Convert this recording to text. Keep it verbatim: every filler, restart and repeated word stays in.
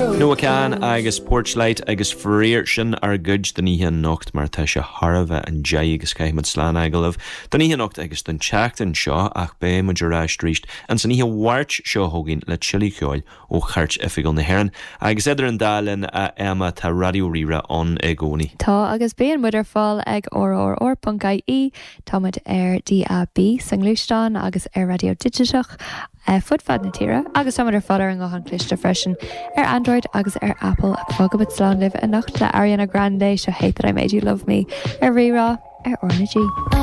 Noah Kahan agus Porchlight agus faraor sin ár gcuid don oíche anocht mar tá sé thar a bheith an deich agus caithfimid slán a fhágáil libh don oíche anocht agus don tseachtain seo ach beidh muid ar ais arís an san oíche Mháirt seo chugainn le tuilleadh ceoil ó Chairt Oifigiúil na hÉireann agus idir an dá linn a Emma tá Raidió Rí-Rá ann i gcónaí. Tá agus bíonn muid ar fáil ag rrr.ie Táimid ar DAB sa ngluaisteán agus ar raidió digiteach fud fad na tíre agus táimid ar fáil ar an nguthán cliste freisin ar Android agus ar Apple ach fágfaimid slán libh anocht le Ariana Grande seo Hate That I Made You Love Me ar Rí-Rá ar R na G.